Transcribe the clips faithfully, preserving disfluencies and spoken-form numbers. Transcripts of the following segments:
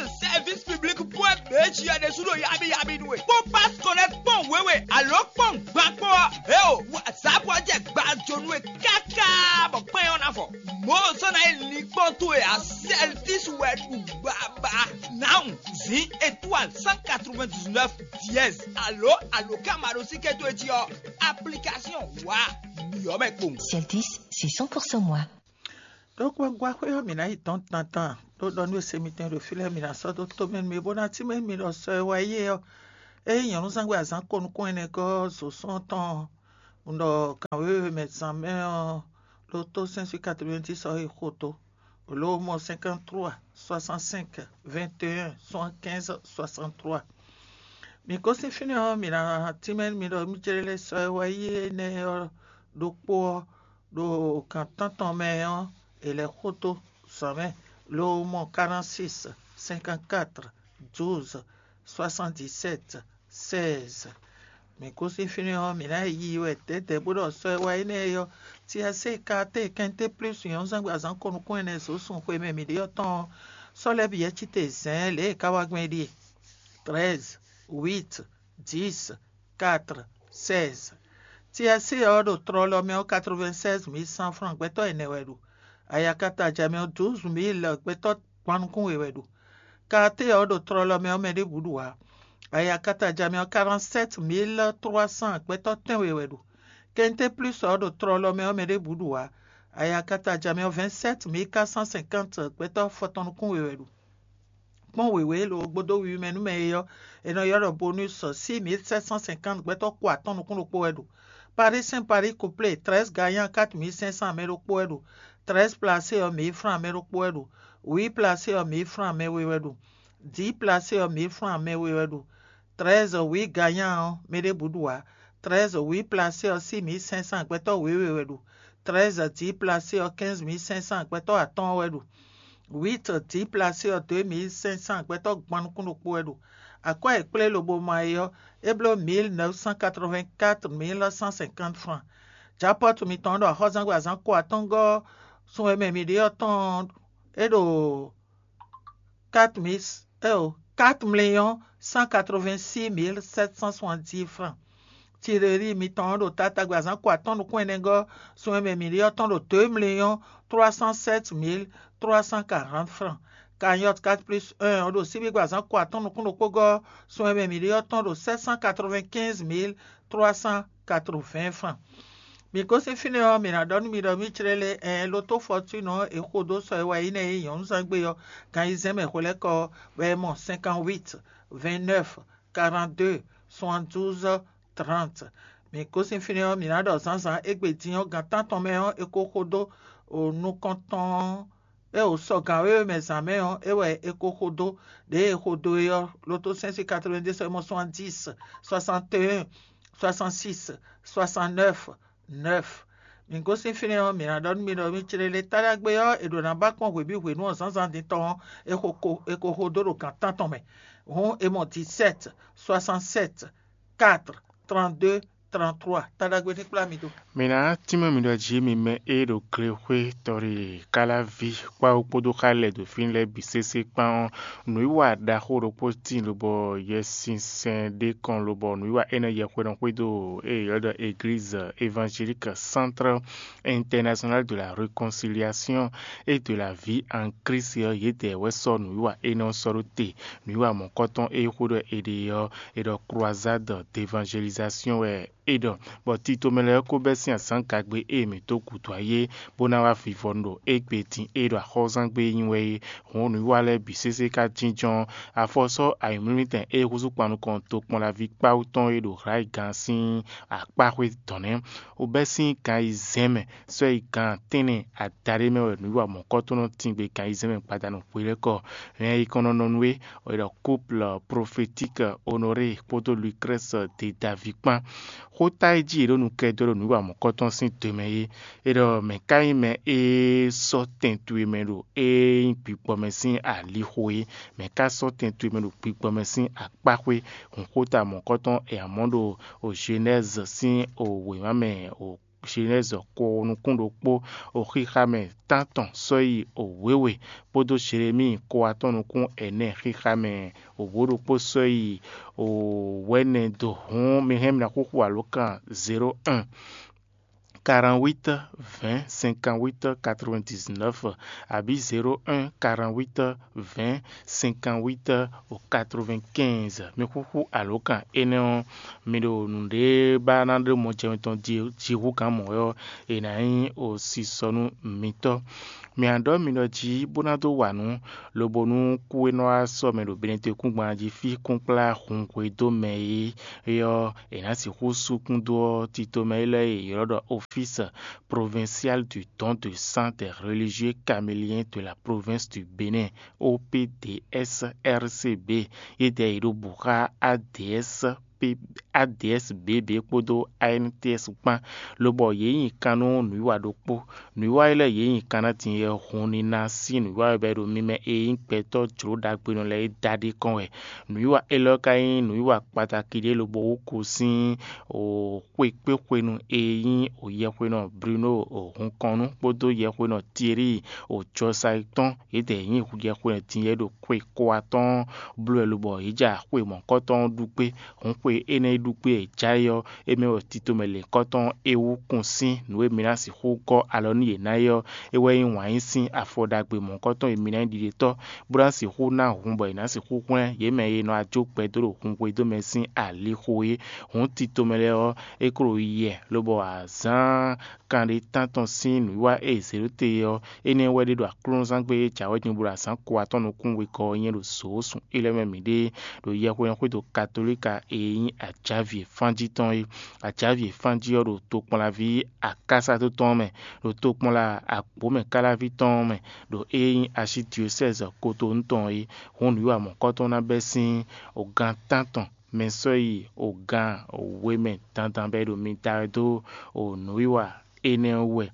Service public point B G ɖésú ɖo yabi yabi nú we. Kpɔ́n pass connect kpɔ́n wěwe alo kpɔ́n gban kpɔ́n ɔ́, eo, WhatsApp ɔ́ jɛ gbajonu we káká bɔ kpɛn ɔ́ ná fɔ. Mɔ̌ sɔ́ ná nyí linkpɔ́n towe ǎ, Celtis wɛ ɖu baba. Now, zin étoile cent quatre-vingt-dix-neuf dièse alo aloka maɖosíké towe jí ɔ́, application wa ɖyɔ̌ mɛ kpowun. Celtis, c'est cent pour cent moi. Ɖó kpɔ́ gbá xwé ɔ́, mǐ ná yi dɔn dandan ɖó ɖɔ nú e se mitɔn ɖo fí lɛ́ɛ mǐ ná sɔ́ dó tó mɛ nú mi bó ná tínmɛ nú mi ɖɔ sɔ e wá yi é ɔ́, ényí nyɔ̌núzangbe azǎn ko nukún ɛnɛ gɔ́ zo sɔ́ tɔn un ɖɔ gǎn wěwe mɛ zán mɛ ɔ́, ɖó tó sɛ́n sín katrovɛ́ntísɛ ɔ́ yi xo dó. Lǒ mɔ cinquante-trois soixante-cinq vingt et un soixante-quinze soixante-trois. Mǐ gosín fínɛ́ ɔ́, mǐ ná tínmɛ nú mi ɖɔ mí jlɛ́ lɛ́ sɔ́ e wá yi énɛ́ ɔ́ ɖokpó ɔ́, ɖo gǎn tántɔn mɛ ɔ́, è lɛ́ xo dó zǎn mɛ, ló mɔ quarante-six cinquante-quatre douze soixante-dix-sept seize. Mǐ gosín fínɛ́ ɔ́, mǐ ná yi wɛ dɛ̌dɛ̌ bó ɖɔ sɔ́ e wá yi nɛ́ é ɔ́, Tiasée Kaatée kɛnté plúsu nyɔ̌núzangbe azǎn ko nukún ɛnɛ zǒ sun xwe mɛ mǐ ɖe ɔ́ tɔn ɔ́, sɔ́ lɛ́ɛ bǐ yɛ́ cí te zɛ̌n lě e é ka wá gbɔn é ɖíe: treize, huit, dix, quatre, seize. Tiasée ɔ́ ɖo tlɔlɔ mɛ ɔ́ quatre-vingt-seize mille cent francs gbɛtɔ́ ɛnɛ wɛ ɖu. Ayakata ja mɛ ɔ́ douze mille gbɛtɔ́ gban nukún we wɛ ɖu. Kaatée ɔ́ ɖo tlɔlɔ mɛ ɔ́ mɛ ɖěbǔ ɖu ǎ. Ayakata ja mɛ ɔ́ quarante-sept mille trois cents gbɛtɔ́ tɛ́nwe wɛ ɖu. Kɛnté plus ɔ́ ɖo tlɔlɔ mɛ ɔ́ mɛ ɖěbǔ ɖu ǎ. Ayakata ja mɛ ɔ́ vingt-sept mille quatre cent cinquante gbɛtɔ́ fɔtɔn nukún we wɛ ɖu. Kpɔ́n wěwé e lo gbódó wiwi mɛ nú mɛ e ɔ́, è nɔ ylɔ́ ɖɔ bonus six mille sept cent cinquante gbɛtɔ́ ko atɔ́ɔ́n nukún ɖokpó wɛ ɖu. Paris Saint Paris couplé treize gagnant quatre mille cinq cents mɛ ɖokpó wɛ ɖu. Treize placé ɔ́ mille francs mɛ ɖokpó wɛ ɖu. Huit placé ɔ́ mille francs mɛ we wɛ ɖu. Dix placé ɔ́ mille francs mɛ we wɛ ɖu. Treize huit gagnant ɔ́ mɛ ɖěbǔ ɖu ǎ. Treize huit placé ɔ́ six mille cinq cents gbɛtɔ́ wěwe wɛ ɖu. Treize dix placé ɔ́ quinze mille cinq cents gbɛtɔ́ atɔ́ɔ́n wɛ ɖu. Huit dix placé ɔ́ deux mille cinq cents gbɛtɔ́ gban nukún ɖokpó wɛ ɖu. Akwɛ́ e kplé lobo ma é ɔ́, é bló mille neuf cent quatre-vingt-quatre mille cent cinquante francs. Japɔ́tu mitɔn ɔ́ ɖo axɔ́zangbe azǎn ko atɔ́ngɔ́ sun e mɛ mǐ ɖe ɔ́ tɔn ɔ́, é ɖo quatre mille, eo, quatre millions cent quatre-vingt-six mille sept cent soixante-dix francs. Tireli mitɔn ɔ́ ɖo tatágbe azǎn ko atɔ́ɔ́n nukún ɛnɛgɔ́ sun e mɛ mǐ ɖe ɔ́ tɔn ɖo deux millions trois cent sept mille trois cent quarante francs. Cagnotte quatre plus un ɔ́ ɖo síbígbe azǎn ko atɔ́ɔ́n nukún ɖokpó gɔ́ sun e mɛ mǐ ɖe ɔ́ tɔn ɖo sept cent quatre-vingt-quinze mille trois cent quatre-vingts francs. Mǐ gosín fínɛ́ ɔ́, mǐ ná ɖɔ nú mi ɖɔ mí jlɛ́ lé ɛn lótó fɔtúnɔ e xo dó sɔ e wá yi nɛ́ é nyɔ̌núzán gbe ɔ́, gan ayizɛ́n mɛ hwelɛ́kɔ wɛ é mɔ cinquante-huit, vingt-neuf, quarante-deux, soixante-douze, trente. Mǐ gosín fínɛ́ ɔ́, mǐ ná ɖɔ zǎnzǎn égbé din ɔ́, gan tántɔn mɛ ɔ́, è ko xo dó nukɔntɔn ɔ́, é o sɔ gǎn wěwe mɛ zǎn mɛ ɔ́, é wɛ è ko xo dó. Ɖěe è xo dó é ɔ́, lótó sɛ́n sín quatre-vingt-deux, soixante-dix, soixante-et-un, soixante-six, soixante-neuf, neuf. Mǐ gosín fínɛ́ ɔ́, mǐ ná ɖɔ nú mi ɖɔ mí clélé táɖagbe ɔ́, è ɖǒ ná ba kpɔ́n hwebǐ hwenu ɔ́ zǎnzǎn din tɔn ɔ́, è xo ko è ko xo dó ɖo gan tántɔn mɛ. Hǔn è mɔ dix-sept, soixante-sept, quatre, trente-deux, trente-trois. Táɖagbe ní kplá mi dó. Mǐ ná tínmɛ mi ɖɔ jí mi mɛ e ɖo glexwé tɔ́ɖi káláví kpáwú kpódó xá lɛ́ɛ ɖo fí lɛ́ɛ bǐ sésé kpán ɔ́, nǔwiwa ɖaxó ɖokpó tíin lobɔ Yɛsinsɛn ɖé kɔn lobɔ nǔwiwa énɛ́ yɛhweɖɔ xwedó e è ylɔ́ ɖɔ Église Évangélique Centre International de la Réconciliation et de la Vie en Christ ɔ́, yědɛɛ wɛ sɔ́ nǔwiwa énɛ́ ɔ́ sɔ́ ɖó te. Nǔwiwa mɔ̌kɔtɔn e xwedó è ɖe ɔ́, è ɖɔ Croisade d'évangélisation wɛ é ɖɔ, bɔ tito mɛ lɛ́ɛ ko bɛ́ sín azǎn gagbe e mǐ dó gǔdo ayé bó ná wá vivɔnu ɖo égbé din e ɖo axɔ́zán gbe nyi wɛ é. Hǔn nǔwiwa lɛ́ɛ bǐ sésé ka jínjɔ́n afɔ sɔ́ ayǐmlúmítɛn e húzú kpan nukɔn tokpɔnlaví kpáwú tɔn e ɖo Hlǎyigán sín akpáxwé dɔn nɛ́. Wobɛ́ sín gan ayizɛ́n mɛ sɔ́ yi gan tɛ́nnɛ adaɖé mɛ wɛ nǔwiwa mɔ̌kɔtɔn nɔ tín gbe gan ayizɛ́n mɛ gbadanu hwelɛ́kɔ. Hɛn e kɔn nɔ nɔ nú é, è ɖɔ couple prophétique Honoré kpódó Lucrèce de David kpán. Xóta e jí è ɖo nukɛ dó ɖo nǔwiwa mɔ̌kɔtɔn sín do mɛ é, è ɖɔ mɛ̌ ka nyí mɛ e sɔ́ tɛn towe mɛ ɖo e nyí gbigbɔ mɛ sín alixo é? Mɛ̌ ka sɔ́ tɛn towe mɛ ɖo gbigbɔ mɛ sín akpáxwé? Hǔnxóta mɔ̌kɔtɔn è amɔ̌ ɖo o Genèse sín o wěma mɛ o Jenɛ́zi ko nukún ɖokpó, o xixa mɛ tántɔn sɔ́yi o wěwe, kpódó Jelemíi ko atɔ́n nukún ɛnɛ xixa mɛ o wǒ ɖokpó sɔ́yi o wɛ̌nɛ do. Hǔn mi hɛn mi ná xúxú alǒkan zéro un, quarante-huit, vingt, cinquante-huit, quatre-vingt-dix-neuf, abǐ zéro un, quarante-huit, vingt, cinquante-huit, quatre-vingt-quinze. Mi xúxú alǒkan énɛ́ ɔ́, mi ɖo nǔɖé ba ná ɖó mɔjɛmɛ tɔn jihú gǎn mɔ̌ ɔ́, è nǎ nyí osisɔ nú mitɔ́. Mi ǎ ɖɔ mi ɖɔ jí bó ná dó wa nǔ, lobo nú kú e nɔ wá sɔ́ mɛ ɖo Benɛtɔ́kúngban jí fí kúnkplá hun hwedó mɛ é ɔ́, è nǎ sixú sú kún dó ɔ́, tito mɛ élɔ́ e è ylɔ́ ɖɔ Office Provincial du Don de Sang des Religieux Caméliens de la Province du Bénin, O P D S R C B, yědɛɛ è ɖo bǔ xá A D S P, A D S B B kpódó A N T S kpán, lobɔ yě nyi kan nú nǔwiwa ɖokpó. Nǔwiwa e lɛ́ɛ yě nyi kan ná din yɛ hun ní ná sín nǔwiwa e bɔ è ɖo mi mɛ e nyí gbɛtɔ́ jlǒ ɖagbenɔ lɛ́ɛ é da ɖ'é kɔn wɛ. Nǔwiwa élɔ́ ka nyí nǔwiwa kpatakí ɖé lobo wú ko sín xwekpéxwenu e nyí yɛhwenɔ Bruno Hunkɔnnu kpódó yɛhwenɔ Thierry Jɔsayí tɔn. Yědɛɛ nyí yɛhwenɔ din yɛ ɖo xwe ko atɔ́ɔ́n bló wɛ lobɔ yě ja xwe mɔ̌kɔtɔn ɔ́ ɖu kpé. Hǔn xwe énɛ́ e ɖu kpé e jǎ é ɔ́, é mɛ wɛ tito mɛ lěkɔ́tɔn é wú kún sín nǔ e mi ná sixú gɔ́ alɔ nú yě ná é ɔ́, é wɛ nyí wǎn yí sín afɔ ɖagbe mɔ̌kɔtɔn e mi ná nyí ɖiɖetɔ́, bó ná sixú ná hun bɔ è nǎ sixú hwlɛ́n yě mɛ e nɔ ajó gbɛ dó ɖo hun xwedó mɛ sín alixo é. Hǔn tito mɛ lɛ́ɛ ɔ́, é klo yɛ lobɔ azǎn kanɖé tántɔn sín nǔwiwa e è zě ɖó te é ɔ́, énɛ́ wɛ ɖé ɖo aklúnɔzán gbe e jǎwe din bó ɖo azǎn ko atɔ́ɔ́n nukún wegɔ́ ɔ́ nyí ɖo zǒ sun élɔ́ mɛ mǐɖée ɖo yɛhwesin xwédo Katolíka e nyí ajǎvǐ e fán jí tɔn é. Ajǎvǐ e fán jí ɔ́ ɖo tokpɔnlaví akásató tɔn ɔ́ mɛ, ɖo tokpɔnla agbǒmɛkáláví tɔn ɔ́ mɛ, ɖo é nyí asyédiosɛ́zi Kotonú tɔn é. Hǔn nǔwiwa mɔ̌kɔ́tɔn ná bɛ́ sín ogan tántɔn mɛ sɔ́ yi ogan we mɛ dandan bɔ é ɖo mi da wɛ dó nǔwiwa énɛ́ ɔ́ wú wɛ.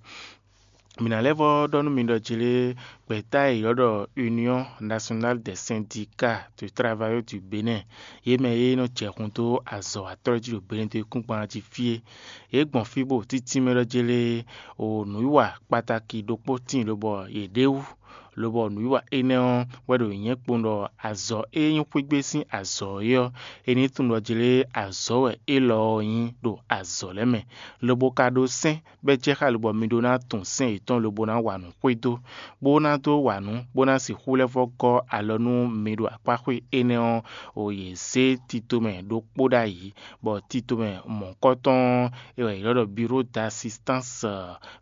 Mǐ ná lɛ́ vɔ́ ɖɔ nú mi ɖɔ jlé gbɛ̌ta e è ylɔ́ ɖɔ Union Nationale des Syndicats de Travailleurs du Bénin, yě mɛ e nɔ jɛ hun dó azɔ̌watɔ́ jí ɖo Benɛtɔ́kúngban jí fí é. Yě gbɔn fí bó títí mɛ ɖɔ jlé o nǔwiwa kpatáki ɖokpó tíin lobɔ yě ɖe wú, lobɔ nǔwiwa énɛ́ ɔ́ wɛ ɖo nyɛ̌ kpowun ɖɔ azɔ̌ e nyí xwígbé sín azɔ̌ é ɔ́, è nǐ tunwun ɖɔ jlé azɔ̌ wɛ élɔ́ ɔ́ nyí ɖo azɔ̌ lɛ́ɛ mɛ, lobo ka ɖó sɛ́n bɔ é jɛ xá lobɔ mi ɖó ná tunwun sɛ́n yětɔn lobo ná wa nǔ xwedó, bó ná dó wa nǔ, bó ná sixú lɛ́ vɔ́ gɔ́ alɔ nú mi ɖo akpáxwé énɛ́ ɔ́, o yě zé tito mɛ ɖokpó ɖ'ayǐ, bɔ tito mɛ mɔ̌kɔ́tɔn ɔ́, è wɛ è ylɔ́ ɖɔ Bureau d'Assistance,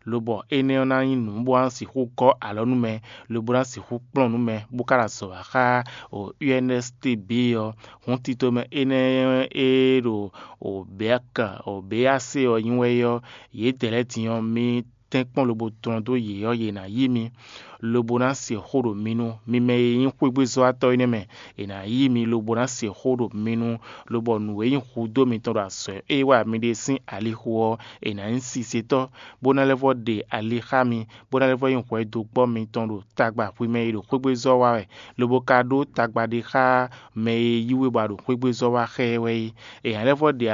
lobɔ énɛ́ ɔ́ ná nyí nǔ bó ná sixú gɔ́ alɔ nú mɛ, lobo ná sixú kplɔ́n nǔ mɛ, bó ka ná zɔ wǎ xá o U N S T B ɔ́. Hǔn tito mɛ énɛ́ e ɖo o B A C, o B A C ɔ́ nyi wɛ é ɔ́, yědɛɛ lɛ́ɛ din ɔ́, mi tɛ́nkpɔ́n lobo tlɔ́n dó yě ɔ́, yě ná yí mi, lobo ná se xó ɖo mi nu. Mi mɛ e nyí xwégbézɔ́watɔ́ énɛ́ mɛ, è nǎ yí mi lobo ná se xó ɖo mi nu, lobɔ nǔ e nyí hudó mitɔn ɖo azɔ̌ e wa mi ɖe sín alixo ɔ́, è nǎ nyí sisetɔ́, bó ná lɛ́ vɔ́ ɖe ali xá mi, bó ná lɛ́ vɔ́ nyí hwɛdogbɔ́ mitɔn ɖo tagba hwi mɛ e ɖo xwégbézɔ́ wa wɛ, lobo ka ɖó tagba ɖé xá mɛ e yí we bɔ a ɖo xwégbézɔ́ wa xá ɛ wɛ é. È nǎ lɛ́ vɔ́ ɖe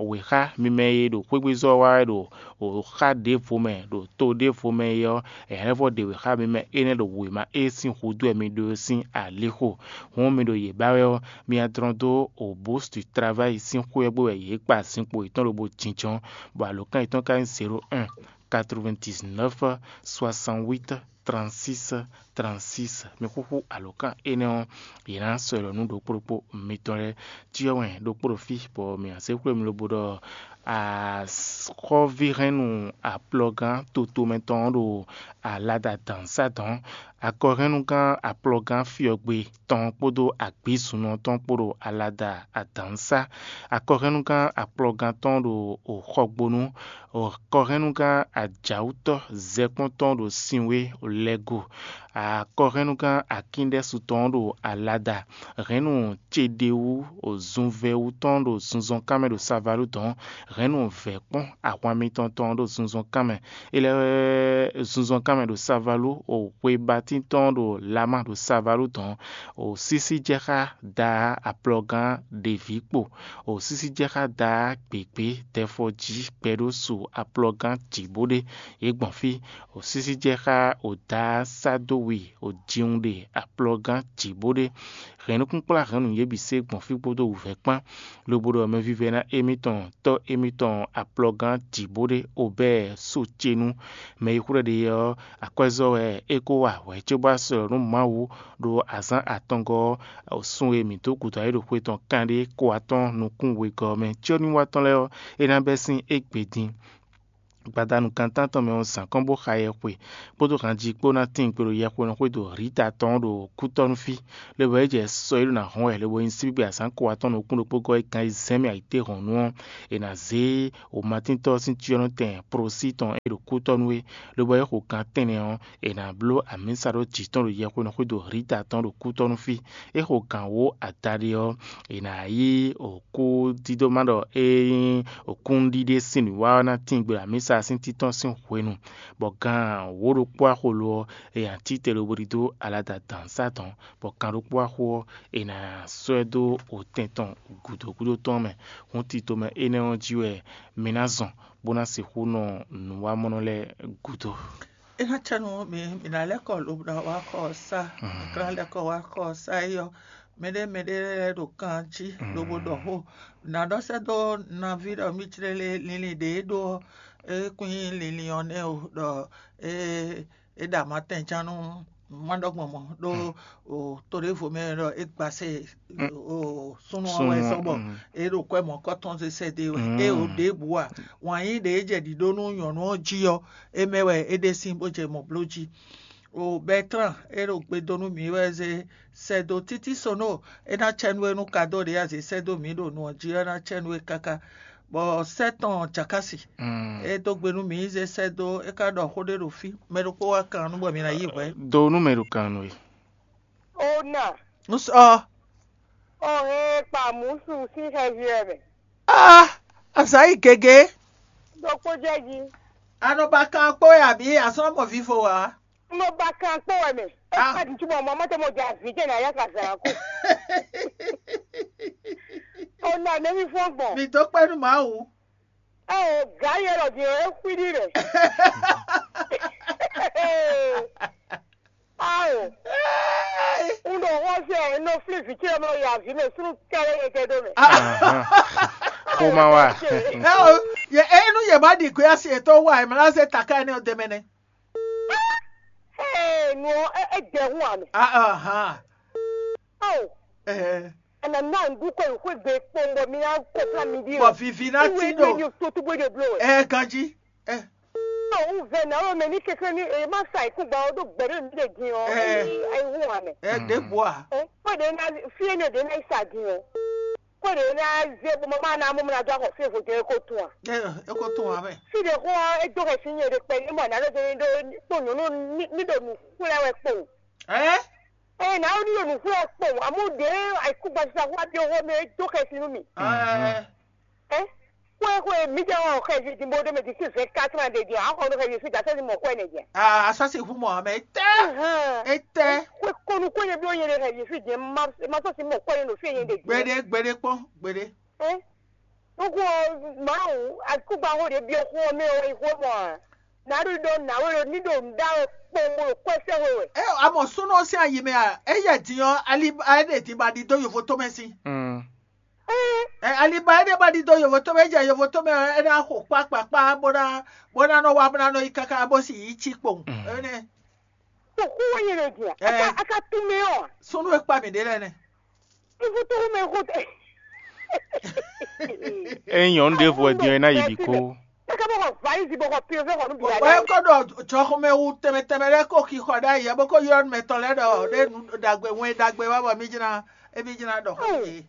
wěxá mi mɛ e ɖo xwégbézɔ́ wa wɛ ɖo xá ɖěvo mɛ ɖo to ɖěvo mɛ é ɔ́, è nǎ lɛ́ vɔ́ ɖe wěxá mi mɛ énɛ́ ɖo wěma e sín hudó wɛ mi ɖó é sín alixo. Hǔn mi ɖo yě ba wɛ ɔ́, mi ná dlɔ́n dó o Bourse du Travail sín xwé ɔ́ gbe wɛ yě kpa zinkpo yětɔn lobo jínjɔ́n, bɔ alǒkan yětɔn ka nyí zéro un, quatre-vingt-dix-neuf, soixante-huit, trente-six, trente-six. Mi xúxú alǒkan énɛ́ ɔ́, yě ná sɔ́ ɛ ɖɔ nú ɖokpó ɖokpó mitɔn lɛ́ɛ. Cyɔ wɛn ɖokpó ɖo fí, bɔ mǐ ná zé xwé mi lobo ɖɔ axɔ́víhɛnnu aplɔgán totomɛ tɔn ɔ́ ɖo alada dǎnsá dɔn. Akɔhɛnnugán aplɔgán fyɔgbe tɔn kpódó agbǐzunɔ tɔn kpó ɖo alada adǎnsá. Akɔhɛnnugán aplɔgán tɔn ɖo xɔgbónú. Akɔhɛnnugán ajǎwútɔ́ zɛkpɔ́ntɔn ɖo sinwé lɛ́ go. Akɔhɛnnugán Akíndɛ́su tɔn ɔ́ ɖo alada. Hɛ̌nnu Ceɖewú zunvɛ́wú tɔn ɖo zunzɔnkan mɛ ɖo Savalú dɔ̌n. Hɛ̌nnu vɛ̌kpɔ́n ahwan mitɔn tɔn ɖo zunzɔnkan mɛ. É lɛ́ zunzɔnkan mɛ ɖo Savalú, o xwebatín tɔn ɖo Lama ɖo Savalú dɔ̌n. O sísí jɛ xá Daa aplɔgán ɖeví kpo. O sísí jɛ xá Daa gběgbé dɛfɔjí gbɛɖósu aplɔgán jǐ bó ɖe. Yě gbɔn fí. O sísí jɛ xá o Daa sá dó wi o jiwun ɖe aplɔgán jǐ bó ɖe. Hɛ̌nnukúnkplá hɛ̌nnu yě bǐ se gbɔn fí kpódó wǔvɛ́ kpán, lobo ɖɔ mɛvívɛ́ná émítɔn tɔ́ émítɔn aplɔgán jǐ bó ɖe Obɛ́ɛ Socenu. Mɛ e xwlɛ́ ɖe ɔ́, akwɛ́zɔ́ wɛ é ko wa hwɛ̌ cóbɔ sɔ́ nú Mawu ɖo azǎn atɔngɔ́ ɔ́, sun e mǐ dó gǔdo ayǐ ɖo xwe tɔn kanɖé ko atɔ́ɔ́n nukún wegɔ́ ɔ́ mɛ. Cyɔ́núwatɔ́ lɛ́ɛ ɔ́, é ná bɛ́ sín égbé din. Gbadanu kan tántɔn mɛ ɔ́, zǎn kɔn bó xa yɛxwe kpódó hanji kpó ná tíin gbe ɖo yɛxwenɔ xwé ɖo Rita tɔn ɖo kútɔ́nú fí, lobo é jɛ sɔ e ɖó ná hɔn wɛ, lobo nyi síbígbe azǎn ko atɔ́ɔ́n nukún ɖokpó gɔ́ é kan yi zɛ́n mɛ ayǐtéhɔ̌nnu ɔ́, è nǎ zé wǒmatíntɔ́ ɔ́ sín cyɔ́nɔtɛn prosí tɔn e ɖo kútɔ́nú é, lobo é xo gan tɛ́nnɛ ɔ́, è nǎ bló amǐsa ɖó jǐ tɔn ɖo yɛxwenɔ xwé ɖo Rita tɔn ɖo kútɔ́nú fí. É xo gǎn wǒ adaɖé ɔ́, è nǎ yí òkú dídó má ɖɔ é nyí òkúnɖíɖé sín nǔwiwa ɔ́ ná tíin gbe ɖo amǐsa sín títɔ́n sín hwenu, bɔ gan wǒ ɖokpó axo lo ɔ́, è nǎ cí te lobo ɖidó alada dǎnsá tɔn, bɔ gan ɖokpó axo ɔ́, è nǎ sɔ́ ɛ dó otɛn tɔn gǔdo gúdo tɔn mɛ. Hǔn tito mɛ énɛ́ ɔ́ jí wɛ mi ná zɔn, bó ná sixú nɔ nǔwamɔnɔ lɛ́ɛ gúdo. É ná cɛ nú mi, mi ná lɛ́ kɔ lobo ná wá xɔ ɔ́ sá, mi ka ná lɛ́ kɔ wá xɔ ɔ́ sá é ɔ́, mɛɖé mɛɖé lɛ́ɛ ɖo kan jí lobo ɖɔ xó. Nǎ ɖɔ sɛ́ dó nɔví ɖɔ mí jlé lé linlin ɖě é ɖó ɔ́, é kún nyí linlin ɔ́ nɛ́ o, ɖɔ é é ɖo amatɛnján nú má ɖɔ gbɔn mɔ̌ ɖó o to ɖěvo mɛ ɖɔ é gbasɛ o súnnu ɔ́ wɛ sɔ́ bɔ é ɖo kwɛ́ mɔ̌kɔ́tɔn zé sɛ́ dó é wɛ. É o ɖěbǔ a, wǎn yí ɖě é jɛ ɖǐɖó nú nyɔ̌nu ɔ́ jí ɔ́, é mɛ wɛ é ɖe sín bó jɛ mɔ̌ bló jí. O Bɛtlán, é ɖo gbe dó nú mǐ wɛ zé sɛ́ dó títí Sono, é ná cɛ nú we nú kadó ɖě a zě sɛ́ dó mǐ ɖo nu ɔ́ jí ɔ́, é ná cɛ nú we káká. Bɔ sɛ́ tɔn Jakasi, é dó gbe nú mǐ, zé sɛ́ dó, é ka ɖɔ xó ɖé ɖo fí, mɛ ɖokpó wá kan nú bɔ mi ná yí hwɛ̌. Do nú mɛ ɖo kan nú we. Ona, Nusɔ, ɔ hɛn kpa mǔsu sín xɛvi wɛ mɛ. Ah, azǎ yi gěgé. Ɖokpó jɛ jí. A nɔ ba kan kpó wɛ abǐ a sɔ́ mɔ vivo ǎ? Un nɔ ba kan kpó wɛ mɛ. É Ah. Ka ɖi cúbɔ mɔ mɔtɛ mɔ jɛ azǐ jɛ nǎ yá ka zǎn kú. Ona nɛ́ mí fɔ́n gbɔn. Mi dó kpɛ́ nú Mawu. Ɛ o gǎ yɛ lɔ din ɔ, é xwí ɖi rɛ. Ao, un ɖo xɔ́sɛ ɛ, un nɔ flí vǐ ce ɔ́ mɛ yi azǐ mɛ súnnu kɛ́ɖɛ́ yɛ jɛ ɖó mɛ. Xoma wa. Ɛ o, yɛ enu yɛ má ɖi gbé asi yětɔn wa ɛ má ná zé taká énɛ́ ɔ́ dɛmɛ nɛ́. Ee, nu ɔ́, é é jɛ hún ame. Ahan. Ao, Ɛhɛ. Ana na ŋdu kɔ yi xwé gbe kpɔn bɔ mi ná kɔ fla mi ɖi. Bɔ vivi ná ti ɖo. Iwe ni to tu bó de blo. Ɛ ganji. Ɛ. Ɔ, un vɛ na wo mɛ ní kékeré ní e má sa ikú gba ɔ́ ɖó gbɛ̌ ɖé mi ɖe din ɔ́. Ɛ. Ayi hu hàn mɛ. Ɛ ɖě bua. Ɛ kpɔ́ ɖě ná fí énɛ́ ɖě ná yi sa din ɔ́. Kpɔ́ ɖě ná zé bó má ná mú mi ná dó axɔ fí evo jɛ é kó tún a. Ɛ é kó tún wa mɛ. Fí ɖě xó ɔ́, é dó xɛsi nyɛ ɖe kpɛ ní mɔ nǎ ɖó dó ní ɖó kpó nyɔ̌nu ní ní ɖo nǔ xwlɛ́ wɛ kpowun. Ɛ. Ɛ nǎ ɖó ní ɖo nǔ xwlɛ́ wɛ kpowun, amú ɖě ayǐkúngban sisa xó wá byɔ́ xó mɛ, é dó xɛsi nú mì. Ɛ. Ɛ, xwé xwé mi jɛ wɔn xɛvi din bó ɖé mɛ din sí vingt-quatre heures de din, a xɔ nú xɛvi fí dasɛ ni mɔ xwé ne jɛ. Aa, asasi hu mɔ amɛ tɛ. Ahan. Etɛ. Xwé kɔnu kɔn ye bi o ye ne xɛvi fí din, ma ma sɔ si mɔ xwé ne no fí ye de din. Gbede gbede kpɔn gbede. Ɛ, nuku ɔ, Mawu, akugba xó ɖe biɔ xó ɔ mɛ ɔ yi xó mɔ a? Na ɖo ɖɔ na we ɖo ní ɖo nǔ ɖa wɛ kpɔn bó ɖo kwɛ sɛ we wɛ. Ɛ, amɔ súnú ɔ́ sín ayi mɛ a, é yɛ din ɔ́, ali é ɖe din ba ɖi dó yovo tó mɛ sín. Ɛ, aliba énɛ́ ba ɖidó yovotómɛ, é jɛ yovotómɛ ɔ́, é ná xo kpákpákpá bó ná bó ná nɔ wá bó ná nɔ yi káká bó sì yi cí kpowun. Énɛ́. Xó wɛ nyɛ ɖo din a? Ɛ. Aka aka tún mɛ ɔ. Súnú e kpa mǐ ɖe lɛ́ɛ nɛ. Ivutu mɛ xó tɛ. Ényí nyɔ̌nu ɖěvo wɛ din ɔ́, é ná yi bǐ kó. Káká bɔ xɔ valizi bɔ xɔ pio fɛ xɔ nú bǐ. Wɛ kɔ ɖɔ jɔxɔmɛ wu tɛmɛ tɛmɛ lɛ́ɛ kó xixɔ ɖ'ayǐ ɛ bó kó ylɔ́ nú mɛtɔn lɛ́ɛ ɖɔ ɖé nu ɖagbe wɛn ɖagbe wá bɔ mí jlá émí jlá ɖɔ xó yě.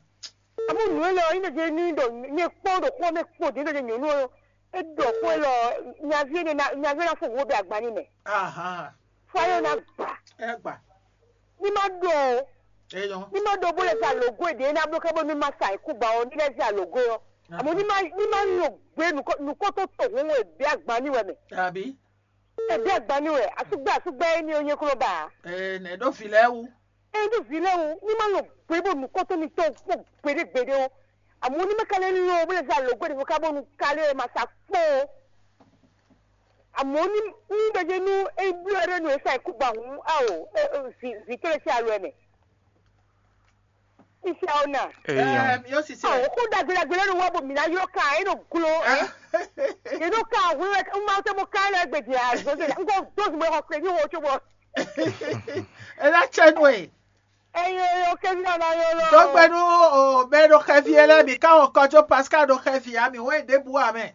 Amu nǔ élɔ́ ɔ́, nyí ɖɔ ní ɖɔ nyɛ kpɔ́n ɖo xó mɛ kpo dín ɖɔ nyɛ nyɔ̌nu ɔ́, é ɖɔ xó élɔ́ ɔ́, nyaví énɛ́ ná nyaví énɛ́ ná fó wǒ bɛ agban n'i mɛ. Ahan. Fɔ́n yóò ná gbà. Ɛ gbà. Ní má ɖó o. Eyɔn. Ní má ɖó bó lɛ sa lǒgó e ɖě ná bló ká bónú má sa ikú gbà o ní lɛ́ sa lǒgó ɔ́. Àmọ́ ní má ní má nɔ gbé nukɔ́ nukɔ́ tó to hǔn e bɛ́ agban ní wɛ mɛ. Àbí. E bɛ́ agban ní wɛ asúgbɛ́ asúgbɛ́ é ní o nyé kúrò ba. Ɛ nɛ ɖó vǐ lɛ́ɛ wú. E ɖó vǐ lɛ́ɛ wú ní má nɔ gbé bó nukɔ́ tó ní tó kpó gbeɖé gbeɖé o. Àmọ́ ní má ka lɛ́ lɔ bó lɛ sa lǒgó e ɖě ká bónú ka lɛ́ ma sa kpó o. Àmọ́ ní ní ɖɔjé nú é bló ɛɖé nú é sa ikú gba hǔn ao vǐ tó lɛ sí alɔ ɛ mɛ. Iṣẹ́ ọ̀nà. Èèyàn. Ẹ mi ó sì ṣe. Àwọn kó dàgbédàgbé lẹ́nu wá bò mí náà yóò ká ẹ̀ nù glo ẹ̀. Inú ká àwọn ẹ̀ ń máa tẹ́ mo ká ẹ̀ lẹ́gbẹ̀dì àzọ́jọ́ ń kó dóòtù mọ́ ọkùnrin ní wọ́n tó bọ̀. Ẹ lá tsẹ nù ẹ. Ẹyin oyo kẹ́sí náà máa yọ lọ. Dɔgbɛnu o bɛ ɖo xɛvi ɛ lɛ mi ká wọn kɔjó Pascal ɖo xɛvi ami wɛn ɖěbǔ amɛ.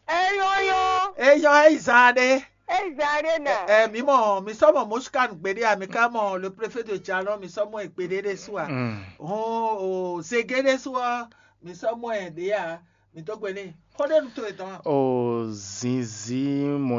Eyɔ́yɔ́. Eyɔ́ eyi zan ɖé. Eyi zan ɖé nà. Ɛ mi mɔ mi sɔ mɔ Moskan gbeɖé a mi ka mɔ le préfet de Jalon mi sɔ mɔ ɛ gbeɖé ɖé su a. Hɔn o zege ɖé su ɔ mi sɔ mɔ ɛ ɖé a mi dó gbe n'i. Xɔ ɖé nu to etɔn a. O zinzin mɔ.